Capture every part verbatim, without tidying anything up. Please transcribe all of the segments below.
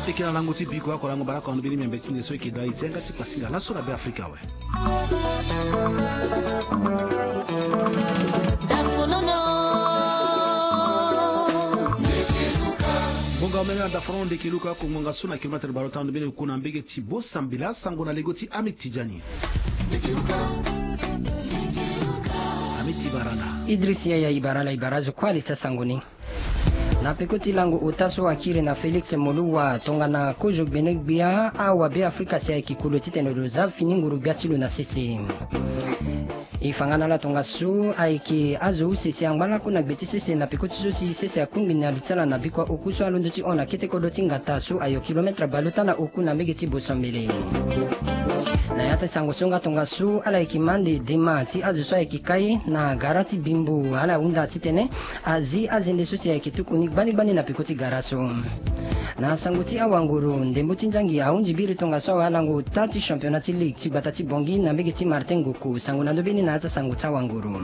Eke na lango ti biko ako lango baraka ando bini miambe ti nde so eke dai zenga ti pasinga laso na be afrika awe. Ngonga omene na dafono ndeke luka ako ngonga so na kilometre balo tando bini oku na mbege ti bosambela sango na lego ti amik tijani. Amik tibarana. Idris yaya ibarala ibara zo kuali ti asango ni. Na peko ti lango ota so akiri na félix moluwa tongana kozo gbene-gbia awabe afrika si ayeke kolo titene lo za fini nguru-gbia ti lo na sese. E fa nga na ala tongaso ayeke azo use si angba lako na gbe ti sese na peko ti so si sese akungbi na li ti ala na bikua oku so alondo ti hon na kete kodro ti ngata so ayo kilometre baleota na oku na mbege ti bosambele. Na ya ti sango so nga tongaso ala yeke ma nde dema ti azo so ayeke kai na gara ti bimbo ala hunda titene azi azende so si ayeke tuku ni gbani gbani na peko ti gara so. Na sango ti awanguru ndembo ti nzangi ahunzi biri tongaso awe alango ota ti championnat ti ligue ti gbata ti bongi na mbege ti martin ngoko sango na ndo bini na ya ti asango ti awanguru.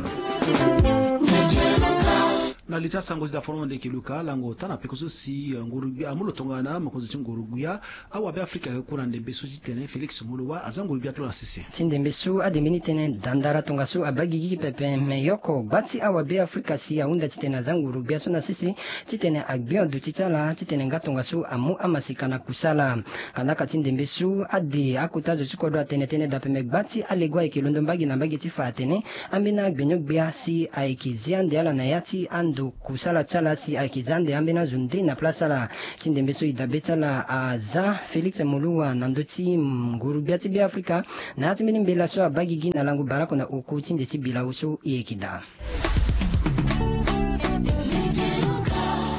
Na li ti asango ti dafono ndeke luka alango ota na peko so si nguru-gbia amu lo tongana mokonzi ti nguru-gbia awabe afrika ayeke ku na ndembe so ti tene félix molowa aza nguru-gbia ti lo na sese. Ti ndembe so adembe ni tene dandara tongaso abaa gigi pepe me yoko gba ti awabe afrika si ahunda titene aza nguru-gbia so na sese titene agbi ndo ti ti ala titene nga tongaso amu amasika na kusala. Kandaka ti ndembe so ade akota zo ti kodro atene tënë dape me gba ti alego ayeke londo mbage na mbage ti fa atene ambeni agbenyo-gbia si ayeke zi ande ala na ya ti ando kusala ti ala si ayeke za ande ambeni azo nde na place ala. Ti ndembe so e dabe ti ala aza félix moluwa na ndö ti nguru-gbia ti be afrika na ya ti mbeni mbela so abaa gigi na lango barako na oku ti nde ti bilau so e yeke daa.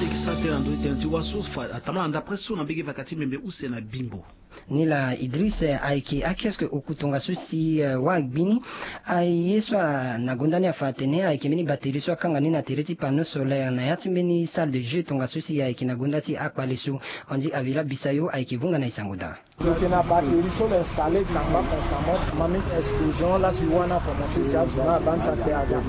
E yeke sara tënë na ndö ti tënë ti wâ so fa atambala na ndapre so na mbege vaka ti mbembe use na bimbo. Ni laa idris ayeke akiosque oku tongaso si wâ agbi ni aye so na gonda ni afa atene ayeke mbeni batterie so akanga ni na tere ti panneau solaire na ya ti mbeni salle de jeu tongaso si ayeke na gonda ti akpale so. Andy avila bisayo ayeke vunga na e sango daa. Lo yeke na batterie so lo installe kangba constamment ma mingi explosion la si wâ ni akomanse si azo ni abaa ni sa kpe aga.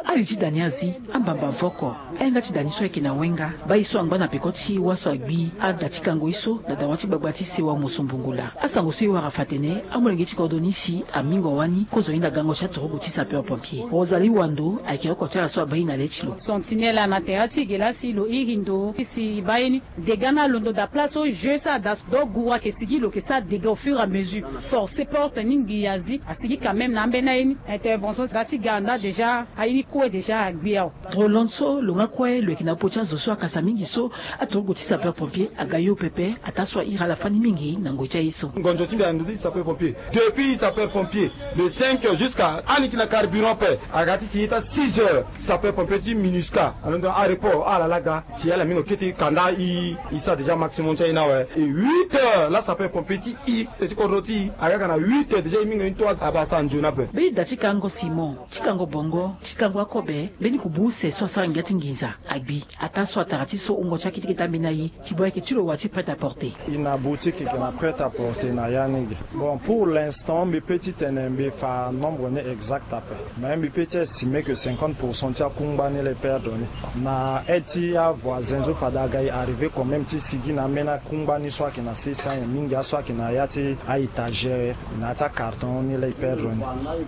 Ari ti da ni azi ambamba voko. Ahinga ti da ni so ayeke na wenga baa ye so angba na peko ti wâ so agbi ada ti kango ye so na dawa ti gbagba ti sewa moso mbungu laa asango so e wara fa atene amolenge ti kodro ni si amingo wani kozo hinda gango ti aturugu ti sapeur pompier rozali wando ayeke oko ti ala so abaa ye na le ti lo. Sentinelle na tere ti ge laa si lo iri ndo si e baa ye ni. Dégât ni alondo daa place so jeu so ada so donc guru ayeke sigi lo yeke sara dégât au fur et à mesure. Force porte ni ngi azi asigi quand même na ambeni aye ni. Intervention da ti ga anda déjà aye ni kue déjà agbi awe. Droland so lo nga kue lo yeke na popo ti azo so akasa mingi so aturugu ti sapeur pompier aga yo pepe ataa so ahiri ala fani mingi na ngoi ti aye so. Ngonzo ti mbi na ndö ti sapeur pompier depuis sapeur pompier le cinq jusqu'à ani yeke na carburant pe aga ti si ye ti asix heures. Sapeur pompier ti minusca alondo na areport ala laga si ala mingo kete kanda i i sara déjà maximum ti aye ni awe. E huit heures la sapeur pompier ti i e ti kodro ti i aga aga na huit heures déjà e mingo ye ni to abaa sara nzoni ape. Mbeni da ti kango simon ti kango bongo ti kango akobe mbeni kubu use so asara ngia ti nginza agbi ataa so atara ti so wungo ti akete kete ambeni aye ti bo ayeke ti lo wa ti prête à porter. E na boutique yeke na prête à porter na ya ni ge. Bon pour l'instant mbi pe ti tene mbi fa nombre ni exact ape. Mais mbi pe ti estimé que cinquante pour cent ti akungba ni la e perdre ni. Na aide ti avoisin so fade aga e arrivé quand même ti sigi na ambeni akungba ni so ayeke na six cents mingi aso ayeke na ya ti a-étagère na ya ti acarton ni la e perdre ni.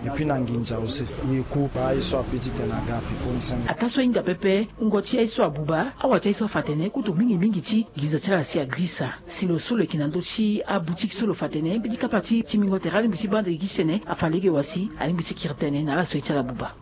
Et puis na nginza aussi e ku baa aye so ape ti tene aga ape koni senge. Ataa so ahinga pepe wungo ti aye so abuba awa ti aye so afa atene kutu mingi mingi ti nginza ti ala si agrisa. Si lo so lo yeke na ndö ti aboutique so lo fa atene mbeni kapa ti timbingo tere alingbi ti baa ndege gi ti tene afa lege wa si alingbi ti kiri tënë na ala so ye ti ala buba.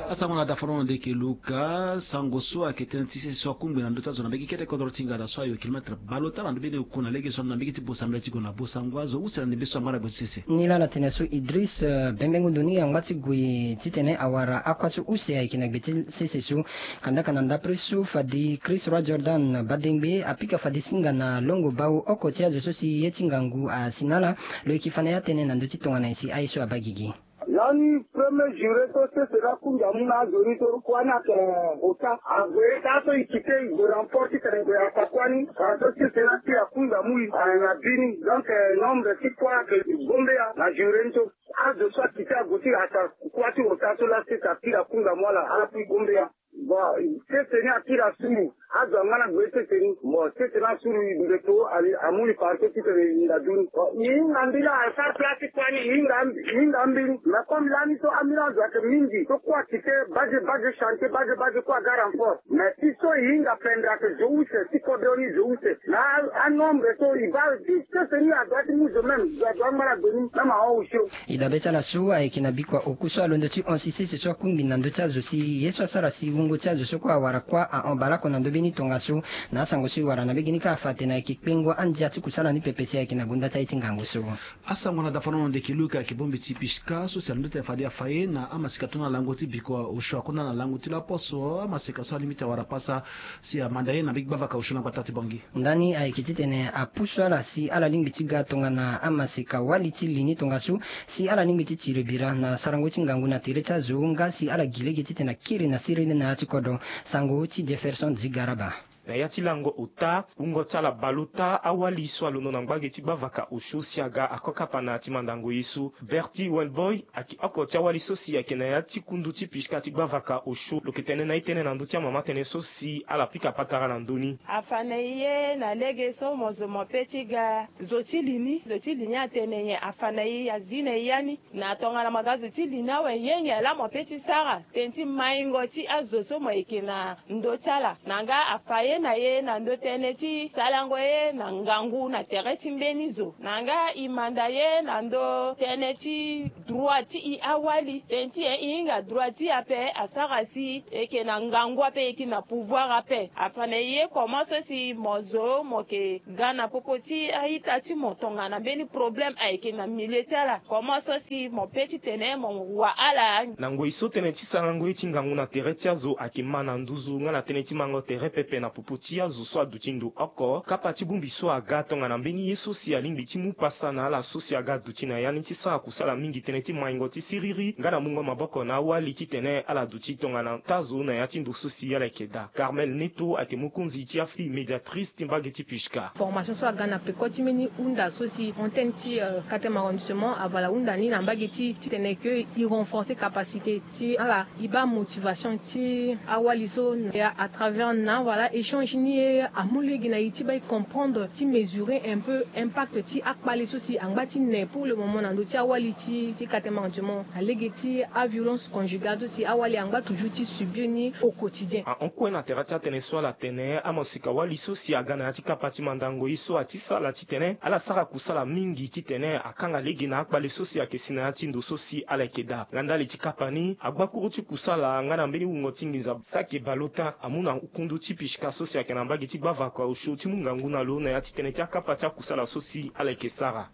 Asango na dafono na ndeke luka sango so ayeke tënë ti sese so akungbi na ndö ti azo na mbege kete kodro ti ngada so ayo kilometre baleota na ndö mbeni oku na lege so na mbege ti bosambela ti gue na bosango azo use na ndembe so angba na gbe ti sese. Ni laa na tene so idris bembengo ndo ni angba ti gue titene awara akua so use ayeke na gbe ti sese so. Kandaka na ndapre so fade chris roi jordan badengbe apika fade singa na longo bau oko ti azo so si ye ti ngangu asi na ala. Lo yeke fa na ya tënë na ndö ti tongana nyen si aye so abaa gigi. Lani premier juré so sese laa kunda mu na azo ni so kuâ ni ayeke ota ague taa so e kite e gue na mport titene e gue afa kuâ ni. Azo sese laa si akunda mu e na bi ni donc nombre ti kuâ ayeke gombe ya na juré ni so. Azo so akite ague ti afa kuâ ti ota so laa sese akiri akunda mu ala ala puis gombe ya. Bon, sese ni akiri asuru. Azo angba na gbe sese ni. Bon, sese ni asuru, i ndeto, ali amu li parke titene i hinga du ni. Bon, i hinga mbeni asara place ti kua ni, i hinga, i hinga mbeni. Mais comme lani so ambeni azo ayeke mingi, so kue akite bage bage, chantier bage bage, kue aga renfort. Mais ti so i hinga pendre ayeke zo use, ti kodro ni zo use. Na anombre so i baa ti sese ni, azo ti mu zo même, zo azo angba na gbe ni même ahon osio. E dabe ti ala so ayeke na bikua oku so alondo ti hon si sese so akungbi na ndö ti azo si ye so asara si wungo ti azo so kue awara kuâ ahon baleoko na ndö mbeni tongaso. Na asango so e wara na mbege ni kâ afa atene ayeke kpengo andia ti kusala ni pepe si ayeke na gonda ti aye ti ngangu so. Asango na dafanono ndeke Luka ayeke bongbi ti Pishka so si alondo ti tene fade afa ye na amaseka tongana lango ti bikua osio akonda na lango ti laposo, amaseka so alingbi ti awara pasa si amanda ye na mbage ti gbavaka osio na gbata ti Bangui. Ndani ayeke titene apusu ala si ala lingbi ti ga tongana amaseka wali ti li ni tongaso, si ala lingbi ti tiri bira na sarango ti ngangu na tere ti azo nga si ala gi lege titene akiri na siriri na ya ti kodro. Sango ti Jefferson Zigaraba. Na ya ti lango ota, wungo ti ala baleota awali so alondo na ngbage ti gbavaka osio si aga ako kapa na ya ti mandango ye so. Bertie Wellboy ayeke oko ti awali so si ayeke na ya ti kundu ti Pishka ti gbavaka osio, lo yeke tene na e tënë na ndö ti amama tënë so si ala pika patara na ndö ni. Afa na e ye na lege so mo zo mo pe ti ga zo ti li ni, zo ti li ni atene nyen? Afa na e azi na e ya ni. Na tongana mo ga zo ti li ni awe, yenge laa mo pe ti sara tënë ti maingo ti azo so mo yeke na ndö ti ala. Na nga afa ye na e na ndö tënë ti salango ye na ngangu na tere ti mbeni zo. Na nga e manda ye na ndö tënë ti droit ti e awali. Tënë ti e e hinga droit ti e ape asara si e yeke na ngangu ape, e yeke na pouvoir ape. Afa na e ye comment so si mo zo mo yeke ga na popo ti a-ita ti mo tongana mbeni problème ayeke na milieu ti ala. Comment so si mo pe titene mo wa ala. Na ngoi so tënë ti sarango ye ti ngangu na tere ti azo ayeke ma na nduzu nga na tënë ti mango tere pepe na popo ti azo so aduti ndo oko, kapa ti bongbi so aga tongana mbeni ye so si alingbi ti mu pasa na ala so si aga duti na ya ni ti sara kusala mingi tënë ti maingo ti siriri nga na mungo maboko na awali titene ala duti tongana taa zo na ya ti ndo so si ala yeke daa. Carmel Neto ayeke mokonzi ti afille médiatrice ti mbage ti Pishka. Formation so aga na peko ti mbeni hunda so si antenne ti, euh, Katem arrondissement avala hunda ni na mbage ti titene ke e renforcer capacité ti ala, e baa motivation ti awali so. Et à travers na, voilà, échange ni, amu lege na e ti baa e comprendre, ti mesurer un peu impact ti akpale so si angba ti ne pour le moment na ndö ti awali ti, ti Katem arrondissement, na lege ti aviolence conjugale so si awali angba toujours ti subir ni au quotidien. Ahon kue na tere ti atënë so ala tene, amaseka wali so si aga na ya ti kapa ti mandango ye so ati sala titene ala sara kusala mingi titene akanga lege na akpale so si ayeke si na ya ti ndo so si ala yeke daa. Nga ndali ti kapa ni, agbakuru ti kusala nga na mbeni wungo ti nginza Sake Balota amu na kundu ti Pishka so si ayeke na mbage ti gbavaka osio ti mu ngangu na lo na ya ti tënë ti akapa ti akusala so si ala yeke sara.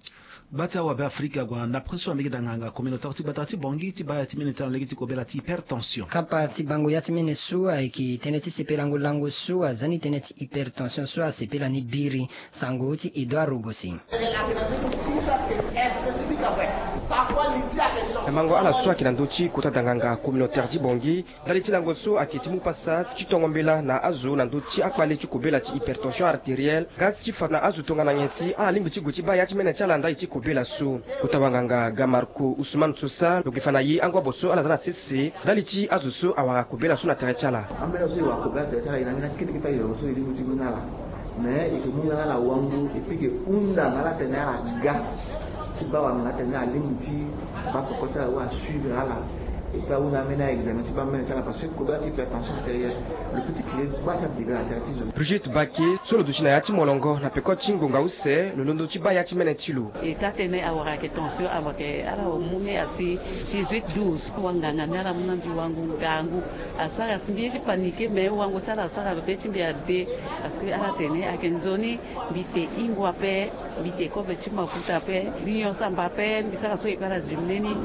Gba ti awabe Afrika ague na ndapre so na mbage danganga communautaire ti gbata ti Bangui ti baa ya ti mene ti ala na lege ti kobela ti hypertension. Kapa ti bango ya ti mene so ayeke tënë ti sepelango lango so aza ni tënë ti hypertension so asepela ni biri. Sango ti Edouard Rogosi. Na mango ala so ayeke na ndö ti kota danganga communautaire ti Bangui, ndali ti lango so ayeke ti mu pasa ti tongo mbela na azo na ndö ti akpale ti kobela ti hypertension artérielle, nga ti fa na azo tongana nyen si ala lingbi ti gue ti baa ya ti mene ti ala ndali ti kobela so. Kota wanganga ga Marco Ousmane Sosa lo yeke fa na e angobo so ala za na sese ndali ti azo so awara kobela so na tere ti ala. Ambeni azo so e wara kobela na tere ti ala, e na ambeni akete kete ayoro so e lingbi ti mu na ala. Mais e yeke mu na ala wango, et puis e yeke hunda na ala tene ala ga ti baa wanganga tene ala lingbi ti baa peko ti ala, wala suivre ala. Et puis ahunda ambeni a-examen ti baa mene ti ala parce que kobela ti hypertension artérielle, lo peut ti créer gba ti adega na tere ti zo. Brigitte Baquet so lo duti na ya ti molongo na peko ti ngonga use, lo londo ti baa ya ti mene ti lo. E taa tënë awara ayeke tension, awara ayeke ala hormone asi dix-huit douze. Wanganga ni ala mu na mbi wango ngangu. Asara si mbi ye ti paniquer, mais wango ti ala asara lo pe ti mbi ade. Parce que ala tene ayeke nzoni mbi te hingo ape, mbi te kobe ti mafuta ape, mbi nyon samba ape, mbi sara so e pe ala zi mbeni.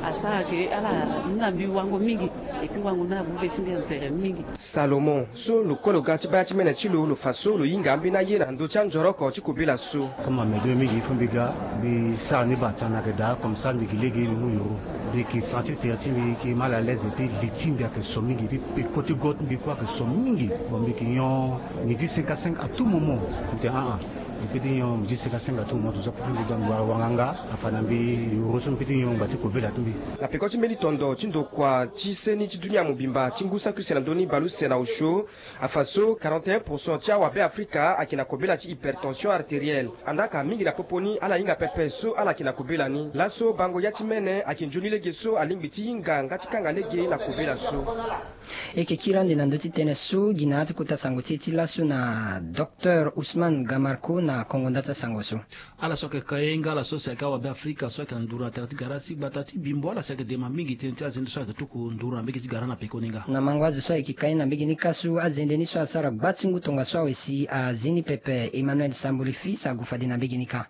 Asara ke ala mu na mbi wango mingi. Et puis wango ni amu be ti mbi anzere mingi. Salomon so lo kue lo ga ti baa ya ti mene ti lo, lo fa so lo hinga ambeni aye na ndö ti anzoroko ti kobela so. Comme ame deux mingi, il faut mbi ga, mbi sara ni bata na yeke daa, comme ça mbi gi lege mbi mu yoro. Mbi yeke sentir tere ti mbi yeke mal à l'aise, et puis li ti mbi ayeke so mingi, et puis peko ti go ti mbi kue ayeke so mingi. Bon, mbi yeke nyon midi cinq à cinq à tout moment. Mbi tene ah ah. Mbi peti nyon mbi ti seka senga ti mo to za peti mbi da ngua wanganga afa na mbi. Yoro so mbi peti nyon ngba ti kobela ti mbi. Na peko ti mbeni tondo ti ndokua ti seni ti dunia mobimba ti ngu saki use na ndö ni baleuse na osio. Afa so quarante et un pour cent ti awabe afrika ayeke na kobela ti hypertension artérielle. Andaa ka mingi na popo ni ala hinga pepe so ala yeke na kobela ni. Laso bango ya ti mene ayeke nzoni lege so alingbi ti hinga nga ti kanga lege na kobela so. E yeke kiri ande na ndö ti tënë so gi na ya ti kota sango ti e ti laso na docteur Ousmane Gamarco na kongo nda ti asango so. Ala so ayeke ka ye nga ala so si ayeke awabe afrika so ayeke na nduru na tere ti gara ti gbata ti bimbo ala si ayeke dema mingi tënë ti azende so ayeke tuku nduru na mbege ti gara na pekoni nga. Na mango azo so ayeke ka ye na mbege ni kâ so azende ni so asara gba ti ngu tongaso awe si azi ni pepe. Emmanuel Sambuli fils agu fade na mbege ni kâ.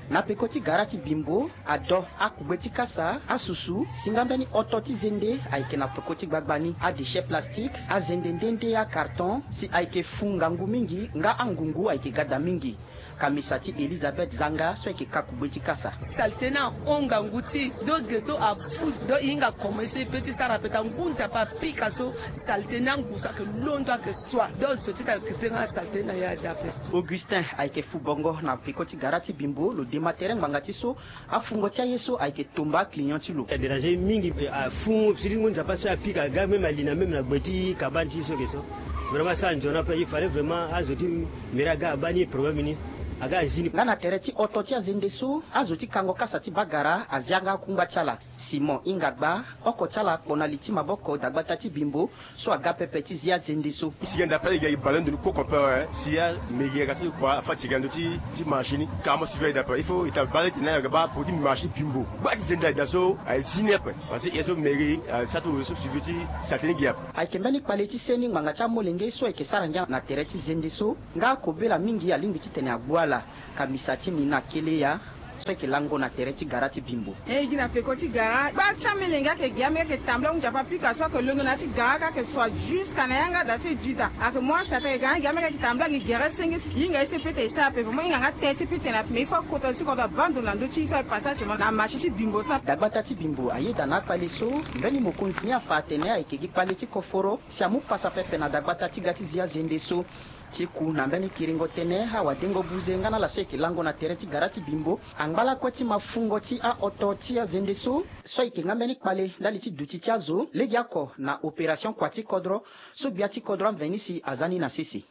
Na peko ti gara ti bimbo, ado, akugbe ti kasa, asusu, si nga mbeni oto ti zende ayeke na peko ti gbagba ni, adéchet plastique, azende nde nde, acarton, si ayeke fu ngangu mingi nga angungu ayeke ga daa mingi. Kamisa ti Elizabeth Zanga so ayeke ka kugbe ti kasa. Salté ni ahon ngangu ti e, donc ge so afu, donc e hinga koma ye so e pe ti sara ape ka ngu nzapa apika so. Salté ni angu so ayeke londo ayeke sua, donc zo ti ta occuper nga salté ni na ya daa ape. Augustin ayeke fu bongo na peko ti gara ti bimbo, lo dema tere ngbanga ti so. Afungo ti aye so ayeke tomba client ti lo. Adéranger mingi, afu siriri ngu nzapa so apika aga même ali na même na gbe ti kabane ti so ke so. Vraiment so anzoni ape, il fallait vraiment azo ti mairie aga abaa ni problème ni, aga azi ni. Nga na tere ti oto ti azende so, azo ti kango kasa ti bagara azi yanga akungba ti ala. Simon hinga gba, oko ti ala akpo na li ti maboko dagbata ti bimbo so aga pepe ti zi azende so. Si ga nda pe, e ga e bale ndo ni koko pe awe, si amege aga so e kua afa ti ga ndo ti, ti marché ni, ka mo suivre aye daa pe. Il faut e ta bale tene aga baa peko ti marché bimbo. Gba ti zende aye daa so aye zi ni ape. Parce que e so mege, e sa ti were so suivre ti salté ni gi ape. Ayeke mbeni kpale ti seni ngbanga ti amolenge so ayeke sara ngia na tere ti zende so, nga akobela mingi alingbi titene agbu ala. Kamisa ti Nina Keleya so ayeke lango na tere ti gara ti bimbo. E gi na peko ti gara, gba ti amelenge ayeke gi amege ayeke tambula ngu nzapa pika so ayeke londo na ya ti gara aka ayeke sua jusqu'à na yanga da ti e dida. Ayeke mu achata ayeke ga na gi amege ayeke tambula gi gere senge so. Hinga ye so e peut ti sara ape, vraiment hinga nga te so e peut ti tene ape, mais il faut akota so kodro abaa ndo na ndö ti e so aye passage mo na marché ti bimbo so. Dagbata ti bimbo ayeda na akpale so, mbeni mokonzi ni afa atene ayeke gi kpale ti koforo si amu pasa pepe na dagbata ti ga ti zi azende so. Ti ku na mbeni kiringo tënë, awadengo buze nga na ala so ayeke lango na tere ti gara ti bimbo angba lakue ti mafungo ti aoto ti azende so, so ayeke nga mbeni kpale ndali ti duti ti azo legeoko na opération kua ti kodro so gbia ti kodro amveni si aza ni na sese.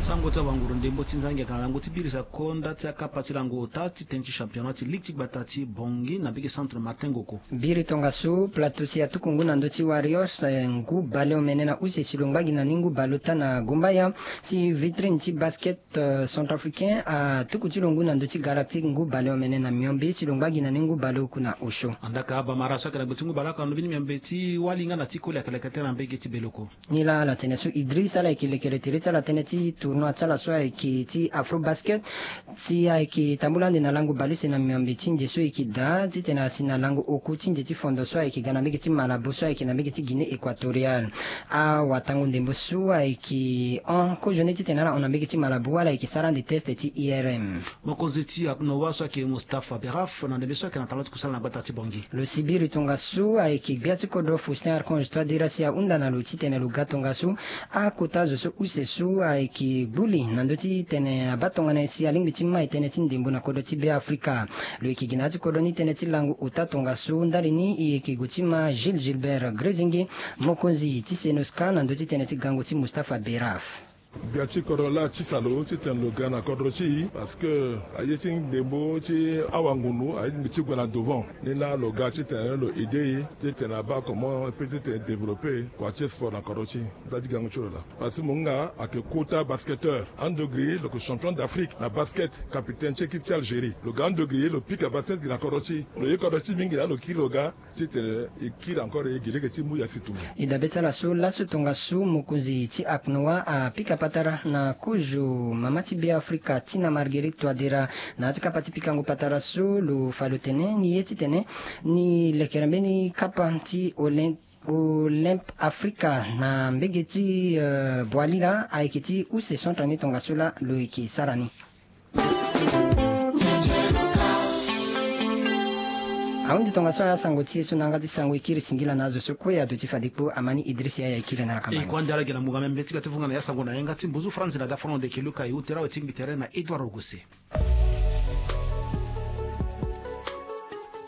Sango ti awanguru ndembo ti nzangi ayeke na lango ti biri sa konda ti akapa ti lango ota ti tënë ti championnat ti ligue ti gbata ti Bangui na mbege centre Martin Ngoko. Biri tongaso, Plateau si atuku ngu na ndö ti Warriors, eh, ngu bale omene na use si lo ngba gi na ni ngu bale ota na Gombaya. Si Vitrine ti basket, eh, centrafricain atuku ti lo ngu na ndö ti Galactique ngu bale omene na miombe si lo ngba gi na ni ngu bale oku na osio. Andaa ka Bamara so ayeke na gbe ti ngu bale oko na lobi ni miombe ti wali nga na ti koli ayeke leke tënë na mbege ti Beloko. Ni laa ala tene so Idriss ala yeke lekere tere ti ala tënë ti tournoi ti ala so ayeke ti Afrobasket. Si ayeke tambula ande na lango baleuse na miombe ti nze so e yeke daa titene asi na lango oku ti nze ti fondo so ayeke ga na mbege ti Malabo so ayeke na mbege ti Guinée Équatoriale. Awatango ndembo so ayeke hon kozo ni titene ala hon na mbege ti Malabo wala ayeke sara ande test ti I R M. Mokonzi ti aknoa so ayeke Mustapha Beraf na ndembe so ayeke na tara ti kusala na gbata ti Bangui. Lo si biri tongaso ayeke gbia ti kodro Faustin Archange Touadéra si ahunda na lo titene lo ga tongaso akota zo so use so ayeke gbu li na ndö ti tene abaa tongana nyen si alingbi ti mai tënë ti ndembo na kodro ti Beafrika. Lo yeke gi na ya ti kodro ni tënë ti lango ota tongaso ndali ni e yeke gue ti ma Gilles Gilbert Grézingué, mokonzi ti Senosca na ndö ti tënë ti gango ti Mustapha Beraf. Gbia ti kodro laa ti salo titene lo ga na kodro ti e parce que aye ti ndembo ti awangundu aye ti mbi ti gue na devant. Ni laa lo ga titene lo aider e titene abaa comment e peut titene développer kua ti sport na kodro ti e. Nda ti gango ti lo laa. Parce que mo hinga ayeke kota basketteur. Ando gri lo yeke champion d'Afrique na basket, capitaine ti équipe ti Algérie. Lo ga ando gri lo pika basket gi na kodro ti e. Lo ye kodro ti e mingi laa lo kiri lo ga. Titene e kiri encore e gi lege ti mu ya si tumba. E dabe ti ala so laso tongaso mokonzi ti aknoa apika patara na kozo mama ti Beafrika Tina Marguerite Touadéra na ya ti kapa ti pikango patara so lo fa lo tene ni ye titene ni lekere mbeni kapa ti Olymp Olymp Afrika na mbege ti, eh, Boualira ayeke ti use centre ni tongaso laa lo yeke sara ni. Ahunzi tongaso ya sango ti e so na yanga ti sango e kiri singila na azo so kue aduti fade kpo. Amani Idriss Yaya e kiri na ala kamba ni. E kue ande ala gi na mungo ambe ti ga ti vunga na ya sango na yanga ti mbuzu franzi na dafono ndeke Luka e ute rawe ti mbi tere na Edouard Ogose.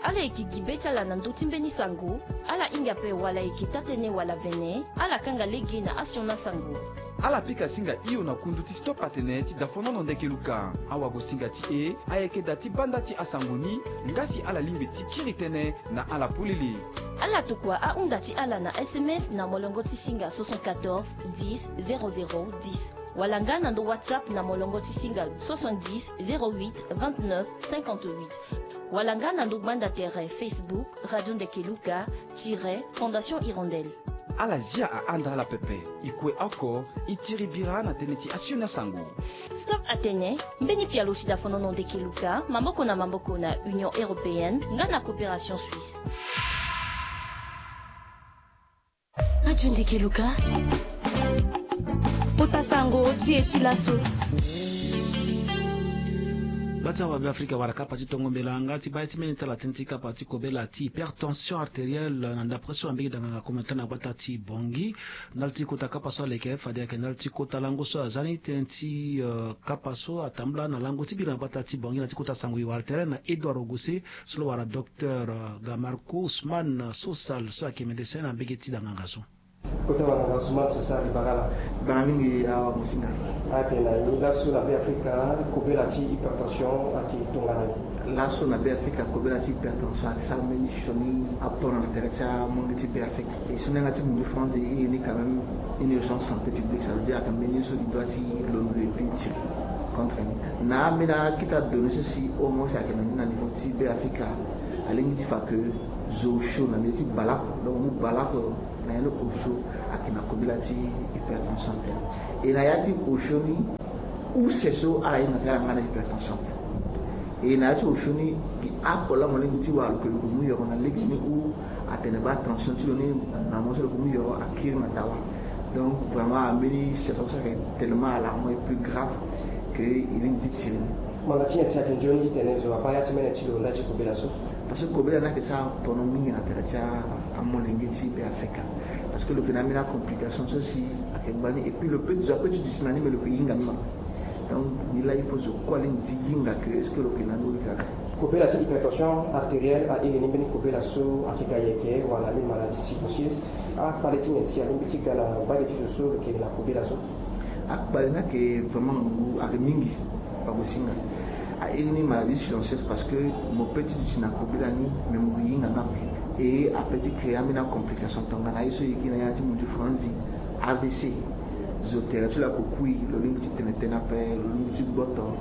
Ala yeke gi be ti ala na ndö ti mbeni sango. Ala hinga ape wala e yeke taa-tënë wala vene, ala kanga lege na asioni asango. Ala pika singa hio na kundu ti Stop Atene ti dafonono ndeke Luka. Awagosinga ti e ayeke da ti banda ti asango ni, nga si ala lingbi ti kiri tënë na ala polele. Ala tokua ahunda ti ala na S M S na molongo ti singa soixante-quatorze dix zéro zéro dix, wala nga na ndo WhatsApp na molongo ti singa soixante-dix zéro huit vingt-neuf cinquante-huit, wala nga na ndo gbanda tere Facebook Radio Ndeke Luka tiret Fondation Hirondelle. Ala zia ahanda ala pepe. E kue oko, e tiri bira na tënë ti asioni asango. Stop Atene, mbeni pialo ti dafonono ndeke Luka, maboko na maboko na Union Européenne nga na Coopération Suisse. Radio Ndeke Luka, kota sango ti e ti laso. Gbata wa Beafrika wala kapa ti tongo mbela nga ti baa ye ti mbeni ti ala tënë ti kapa ti kobela ti hypertension artérielle na ndapre so na mbege danganga komonta na gbata ti Bongi. Ndali ti kota kapa so aleke fade ayeke ndali ti kota lango so aza ni tënë ti, eh, kapa so atambula na lango ti biri na gbata ti Bongi na ti kota sango e wara tere na Edouard Ogose so lo wara docteur, eh, Gamarco Ousmane Sosal so ayeke médecin na mbege ti danganga so. Kota wanganga Ousmane Sosal, e bara ala. Bara mingi awagosinga. Atene na e laso na Beafrika kobela ti hypertension ayeke tongana nyen? Laso na Beafrika kobela ti hypertension ayeke sara mbeni sioni apono na tere ti amonge ti Beafrika. E so na yanga ti mundu franzi e ye ni quand même une urgence santé publique, ça veut dire ayeke mbeni ye so e doit ti londo et puis tiri contre ni. Na ambeni akita données so si au moins ayeke na ni na niveau ti Beafrika, alingbi ti fa que zo osio na mbeni ti bale oko, donc mu bale oko na ya ni osio ayeke na kobela ti hypertension artérielle. E na ya ti osio ni use so ala hinga ka ala nga na hypertension. E na ya ti osio ni gi oko laa mo lingbi ti wara lo ke lo ke mu yoro na lege ni ou atene baa tension ti lo ni na mo so lo ke mu yoro akiri na dawa. Donc vraiment ambeni situation so ayeke tellement alarmant et plus grave que e lingbi ti tiri ni. Ngbanga ti nyen si ayeke nzoni titene zo abaa ya ti mene ti lo nda ti kobela so? Parce que kobela ni ayeke sara pono mingi na tere ti a, amolenge ti Beafrika. Parce que lo yeke na ambeni acomplication so si ayeke ngbani et puis lo peut zo ape ti duti na ni me lo yeke hinga ni ma. Donc ni laa il faut zo kue alingbi ti hinga que est-ce que lo yeke na ni ou lo yeke na ni. Kobela ti hypertension artérielle airi ni mbeni kobela so ayeke ga yeke wala mbeni maladie cirrhosis. Akpale ti nyen si alingbi ti ga na mbage ti zo so lo yeke na kobela so? Akpale ni ayeke vraiment ngu ayeke mingi. Awagosinga. Airi ni maladie silencieuse parce que mo peut ti duti na kobela ni mais mo ke hinga nga ape. E apeut ti créer ambeni acomplication tongana aye so e yeke na yanga ti mundu franzi, A V C. Zo tere ti lo ayeke kui, lo lingbi ti tene tënë ape, lo lingbi ti gboto.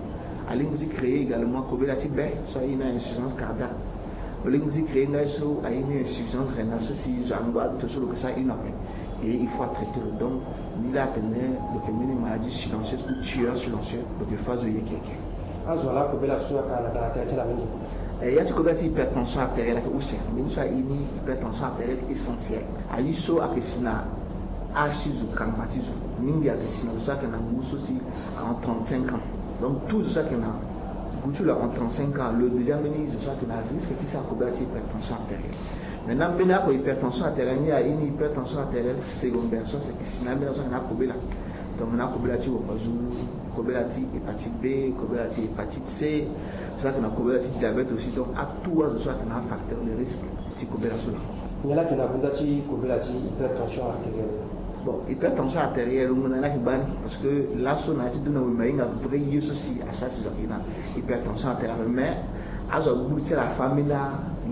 Alingbi ti créer également kobela ti be so aye ni insuffisance cardiaque. Lo lingbi ti créer nga ye so aye ni insuffisance rénale so si zo angba aduto so lo ke sara hino ape. Et il faut atraiter lo. Donc ni laa atene lo yeke mbeni maladie silencieuse ou tueur silencieux, lo yeke fa zo yeke yeke. Azo ala kobela so ayeke na tere ti ala mingi. Eh, ya ti kobela ti hypertension artérielle ayeke use. Mbeni so aye ni hypertension artérielle essentielle. Aye so ayeke si na âge ti zo, kangba ti zo. Mingi ayeke si na zo so ayeke na ngu so si en trente-cinq ans. Donc tout zo so ayeke na ngu ti lo en trente-cinq ans lo déjà mbeni zo so ayeke na risque ti sara kobela ti hypertension artérielle. Maintenant mbeni oko hypertension artérielle ni aye ni hypertension artérielle secondaire so ayeke si na ambeni azo so ayeke na akobela. Donc na akobela ti wongo azo, kobela ti hépatite B, kobela ti hépatite C, zo so ayeke na kobela ti diabète aussi. Donc atout azo so ayeke na afacteur de risque ti kobela so laa. Nyen laa ayeke na gunda ti kobela ti hypertension artérielle? Bon, hypertension artérielle ngbonga ni ayeke baa ni parce que laso na ya ti dunia wemba e hinga vrai ye so si asara si zo ayeke na hypertension artérielle mais azo agbu ti ala afa ambeni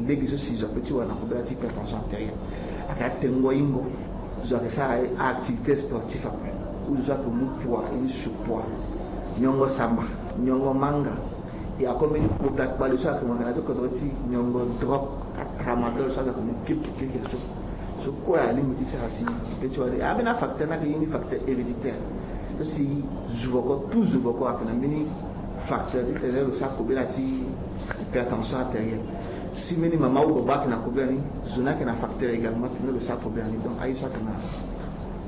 lege so si zo apeut ti wara na kobela ti hypertension artérielle. Ayeke atengo yingo, zo ayeke sara a-activité sportif ape, ou zo so ayeke mu poids, ye ni surpoids, nyongo samba, nyongo manga. E ako mbeni kota kpale so ayeke mo yeke na ya ti kodro ti nyongo drogue, tramadol so ayeke mo kirikiri so. So kue alingbi ti sara si e peut ti wara ni. Ambeni afacteur ni ayeke ye ni facteur héréditaire. So si zo voko, tout zo voko ayeke na mbeni facteur titene lo sara kobela ti hypertension artérielle. Si mbeni mama ou baba ayeke na kobela ni, zo ni ayeke na facteur également titene lo sara kobela ni. Donc aye so ayeke na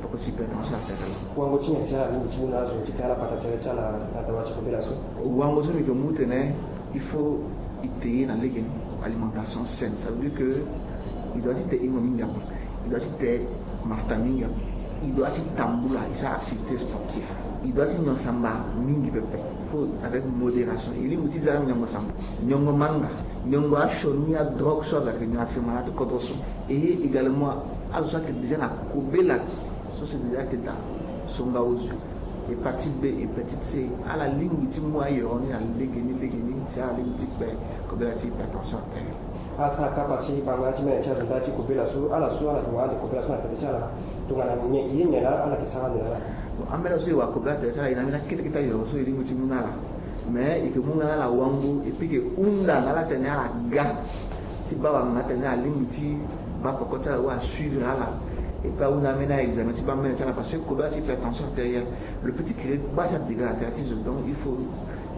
poko ti hypertension artérielle. Wango ti nyen si ala lingbi ti mu na azo titene ala bata tere ti ala na dawa ti kobela so? Wango so mbi yeke mu tene il faut e te ye na lege ni. Alimentation saine, ça veut dire que il doit ti te hingo mingi ape, il doit ti te mafuta mingi ape, il doit ti tambula, il sara activité sportive, il doit ti nyon samba mingi pepe. Faut avec modération. E lingbi ti za nyongo samba, nyongo manga, nyongo asioni, adrogue so aza ke nyon actuellement na ti kodro so. Et également azo so ayeke déjà na kobela so si déjà ayeke daa, songa ozio, hépatite B, hépatite C, ala lingbi ti mu ayoro ni na legeni legeni si ala lingbi ti kpe kobela ti hypertension artérielle. Asara kapa ti bango ya ti mene ti azo nda ti kobela so ala so ala yeke wara ande kobela so na tere ti ala. Tongana nyen, ye nyen laa ala yeke sara ande na ala? Bon, ambeni so e wara kobela tere ti ala, e na ambeni akete kete ayoro so e lingbi ti mu na ala. Mais e yeke mu nga na ala wango, et puis e yeke hunda na ala tene ala ga ti baa wanganga tene alingbi ti baa peko ti ala ou asuivre ala. Et puis ahunda ambeni a-examen ti baa mene ti ala, parce que kobela ti hypertension artérielle, le petit kiri baa ti adéga na tere ti zo. Donc il faut,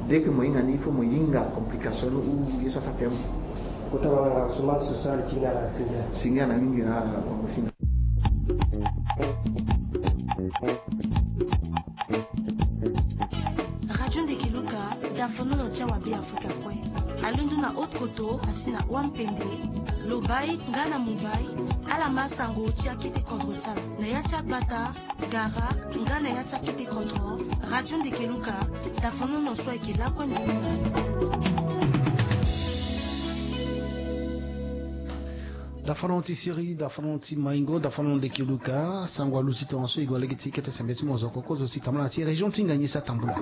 dès que mo hinga ni, il faut mo hinga complication ni ou ye so asara tene mo. Kota wanganga, Ousmane Sosa, li ti ni na ala, singia. Singia na mingi na ala, wango singa. Radio Ndeke Luka, dafonono ti awa Beafrika kue. Alondo na haute koto asi na Wampende. Lobai nga na Mobai, ala ma sango ti akete kodro ti ala na ya ti agbata, gara nga na ya ti akete kodro. Radio Ndeke Luka, dafonono so ayeke lakue nduru na. Dafonono ti siri, dafonono ti maingo, dafonono Ndeke Luka, sango aluti tongaso e gue lege ti kete sembe ti mozoko kozo si tambula na ti région ti Nganyisa tambula.